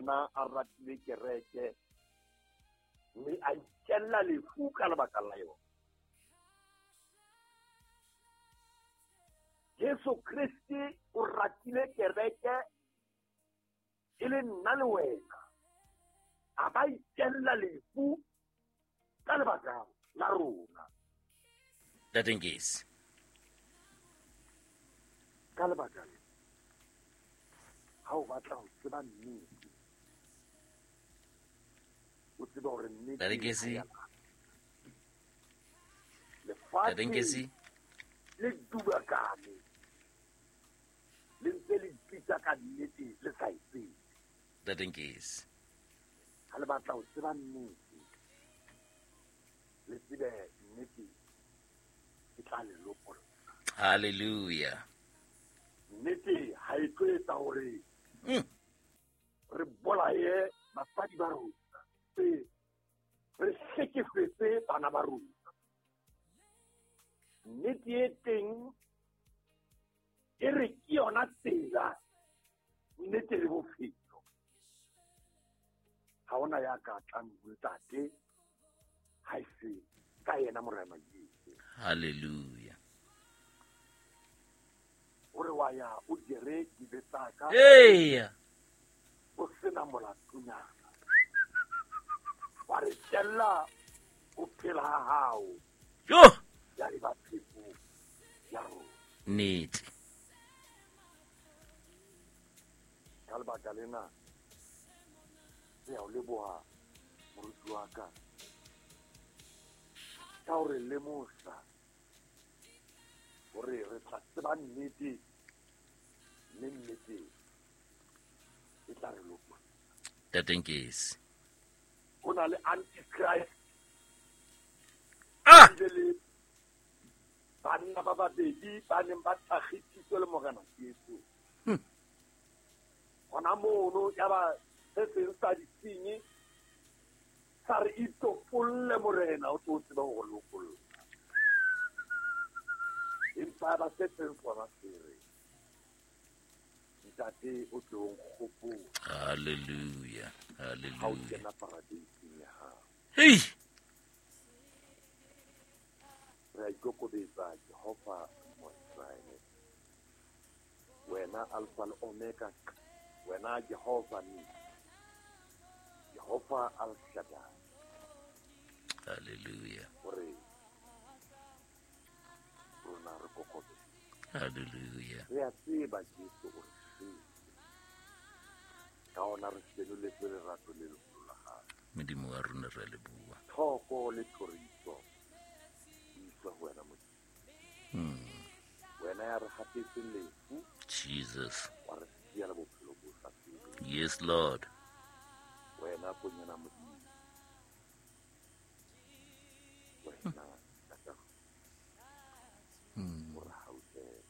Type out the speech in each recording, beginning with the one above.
yena a ratile kereke mme a itella lefu ka lebaka la yona. Jesu Kriste o ratile kereke e le nna le wena, a ba itella lefu ka lebaka la rona. Ntate Nkesi. Ka lebaka le, ha o batla ho tseba nnete, o tsebe hore nnete Ntate Nkesi. ha ya Lefatshe Ntate Nkesi. le dubakane, le ntse le ipitsa ka nnete le sa e tsebe. Ntate Nkesi. Ha le batla ho tseba nnete, le tsebe nnete e tla le lopolla. Hallelujah. Nnete ha e tlo etsa hore re bolaye basadi ba rona, re hlekefetse bana ba rona. Nnete e teng e re ke yona tsela, nnete le bophelo. Ha hona ya ka tlang ho Ntate ha e se ka yena Morena Jesu. Hallelujah. O re wa ya o jere dibe tsa ka. Eya. O sena molatonyana. Wa re tella o phela ha hao. Jo. Ya eba pheko ya rona. Nnete. Ka lebaka lena, re a o leboha, moruti wa ka, ka hore lemosa hore re tla tseba nnete, mme nnete e tla re lopolla. Ntate Nkesi. Ho na le Antichrist. Ah! Ebile le banna ba babedi ba neng ba thakgisitswe le Morena Jesu. Hona mono ya ba se seng sa disenyi sa re itopolle Morena, o tlo tsebe ho re lopolla. Empa ba se seng sona se re, Ntate o tlo nkgopola. Hallelujah, Ha o hallelujah. kena paradeiseng ya hao. Hey! Re a ikokobetsa Jehova Modimo wa Iseraele. Wena Alpha le Omega, wena Jehova Nisi, Jehova Al Shaddai. Hallelujah. Hore rona re kokobetse. Hallelujah. Re a tseba Jesu o re shwetse. Ka hona re senoletswe lerato le leholo la hae. Modimo wa rona re a leboha. Thoko le thoriso di iswe ho wena Modimo. Wena ya re hapetseng lefu, Jesus. wa re siya le bophelo bo sa feleng. Yes, Lord. Wena konyana Modimo. Wena Ntate. O re hauhele.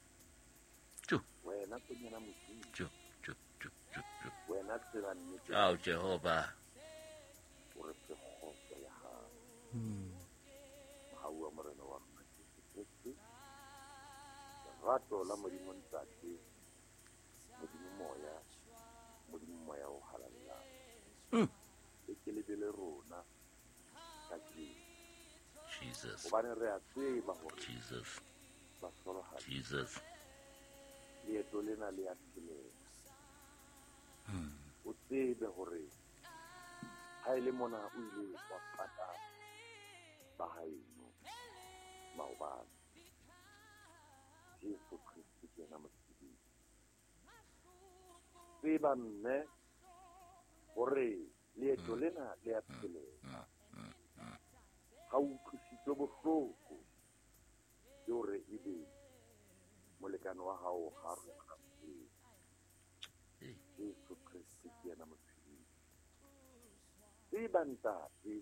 Jo. Wena konyana Modimo. Jo, jo, jo, jo, jo. Wena tsela nnete. Ao, Jehova. O re fe kgotso ya hao. Mohau wa Morena wa rona Jesu Kreste, lerato la Modimo Ntate, Modimo Moya, Modimo Moya o halalelang. E ke le be le rona kajeno. Jesus. Hobane re a tseba hore Jesus. bahlolohadi, Jesus. leeto lena le a phelela. O tsebe hore ha e le mona o ile wa pata ba haeno maobane. Jesu Kriste ke yena motshedisi. Tseba mme hore leeto lena le a phelela. Ha o utlwisitswe bohloko ke hore ebe molekane wa hao ha re kgathetse. Jesu Kriste ke yena motshedisi. Tseba ntate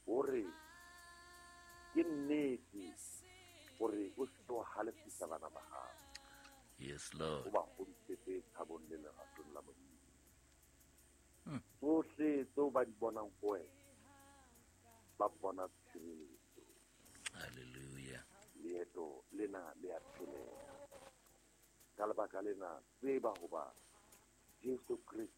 hore ke nnete hore o se ke wa halefisa bana ba hao. Yes, Lord. O ba hodisetse thabong le leratong la Modimo. Tsohle tseo ba di bonang ho wena, ba bona tshireletso. Hallelujah. Leeto lena le a phelela. Ka lebaka lena, tseba hoba Jesu Kriste